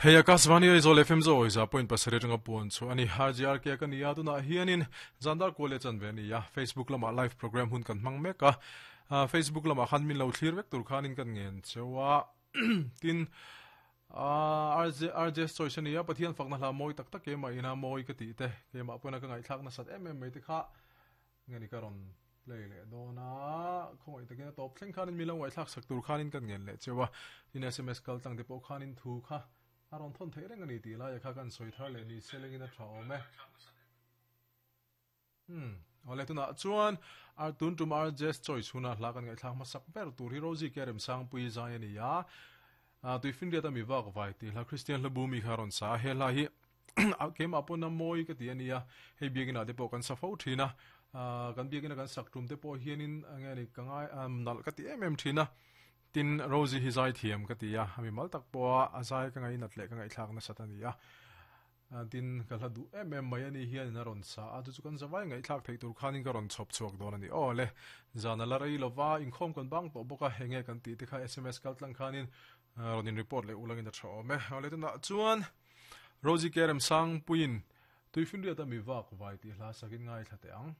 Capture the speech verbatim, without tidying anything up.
Hei Akashvani Aizawl F M zo za point pasarih atanga puan chu ani R J R K ka nia tunah hianin zandar kual leh chan ve ani a Facebook lama live program hun kan hmang mek a Facebook lama khan min lo thlir vek tur khanin kan ngen chewa tin R J R J choice ani a Pathian fakna hla mawi tak tak ema ina mawi ka ti te kema pawna ka ngai thlak na sat em em mai te kha ngeni ka ron play le dona khoi takin top thleng khanin mi lo ngai thlak sak tur khanin kan ngen le chewa tin S M S kal tang te pawh khanin thu kha aron thon thei reng ani ti lai kha kan soi thar le ni selengin a tha awm e hmm ole tuna chuan ar tun tum ar just choice huna hla kan ngai thlak masak ber tur hi Rosie Kerem sang pui zai ani a tuifin riat ami vak vai ti hla Christian hla bu mi kha ron sa he hla hi kem apona moi ka ti ania hei biagina te pawh kan sa fo thina kan biagina kan sak tum te pawh hianin ange ni ka ngai nal ka ti em em thina tin Rosie hi zai thiam ka ti a ami mal tak pawh a zai ka ngai nat le ka ngai thlak na sat ani a tin ka hla du em em mai ani hian a ron sa a chu chu kan zawai ngai thlak thei tur khanin ka ron chhop chhuak dawn ani aw le zana la rei lova inkhawm kan bang tawh bawk a henge kan ti te kha S M S kal tlang khanin ron in report le ulangin a tha awm e ole tuna chuan Rosie Kerem sang puin tuifin riat ami vak vai ti hla sakin ngai thla te ang.